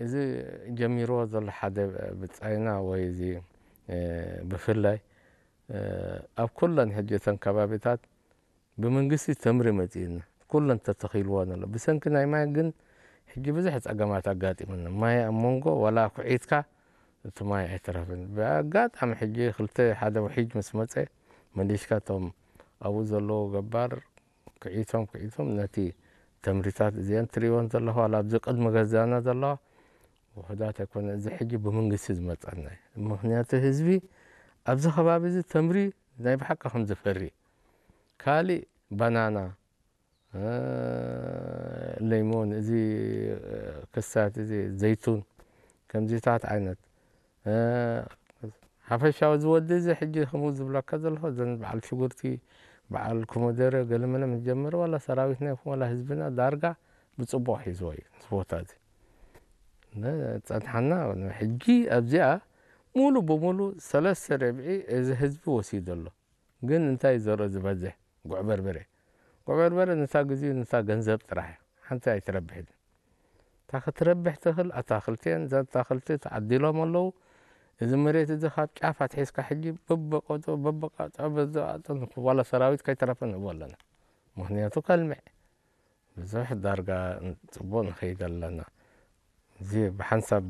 እዚ ጀሚርዎ ዘሎ ሓደ ብጻይና ወይ እዚ፣ እ፣ ብፍላይ፣ እ፣ ኣብ ኩለን ሕጂ እተን ከባቢታት ብመንግስቲ ተምሪ መጺእና፣ ኩለን ተተኺልወን ኣሎ። ብሰንኪ ናይ ማይ ግን ሕጂ ብዙሕ ጸገማት ኣጋጢሙና። ማይ ኣብ መንጎ ዋላ ኩዒትካ እቲ ማይ ኣይተረፍን። ብኣጋጣሚ ሕጂ ክልተ ሓደ ውሒጅ ምስ መጸ፣ መሊስካ እቶም ኣብኡ ዘለዉ ገባር ኩዒቶም፣ ኩዒቶም ነቲ ተምሪታት እዚአን ትርእይወን ዘለኹ፣ ዋላ ኣብዚ ቅድሚ ገዛና ዘለዋ ውሑዳት ኣይኮነ። እዚ ሕጂ ብመንግስቲ ዝመጸና እዩ። ምኽንያቱ ህዝቢ ኣብዚ ከባቢ እዚ ተምሪ ናይ ብሓቂ ከም ዝፈሪ፣ ካሊእ ባናና፣ እ፣ ለይሞን፣ እዚ፣ እ፣ ክሳት፣ እዚ ዘይቱን፣ ከምዚታት ዓይነት፣ እ፣ ሓፈሻዊ እዚ ወዲ እዚ ሕጂ ከምኡ ዝብለካ ዘለኹ፣ እዘን በዓል ሽጉርቲ፣ በዓል ኮመደረ፣ ገለመለ ምስ ጀመረ፣ ዋላ ሰራዊትና ይኹን ዋላ ህዝብና ዳርጋ ብጽቡቕ ሒዝዎ እዩ፣ እዚ ቦታ እዚ። ነ-፣ ጸንሓና፣ ሕጂ ኣብዚኣ ሙሉ ብሙሉ ሰለስተ ርብዒ እዚ ህዝቢ ወሲዱ ኣሎ። ግን እንታይ እዩ ዘርኢ ዝበዝሕ? ጉዕ በርበረ። ጉዕ በርበረ ነታ ግዜኡ ነታ ገንዘብ ጥራሕ እያ። ሓንቲ ኣይትረብሕን። እታ ክትረብሕ ትኽእል ኣታኽልቲ እየን። እዛ ኣታኽልቲ ተዓዲሎም ኣለዉ። እዚ መሬት እዚ ካብ ጫፍ ኣትሒዝካ ሕጂ በበቆጦ፣ በበቃጦ፣ በዘቃጦ ዋላ ሰራዊት ከይተረፈ ንህቦ ኣለና። ምኽንያቱ ከልምዕ። ብዙሕ ዳርጋ ጽቡቕ ንኸይድ ኣለና። እዚ ብሓንሳብ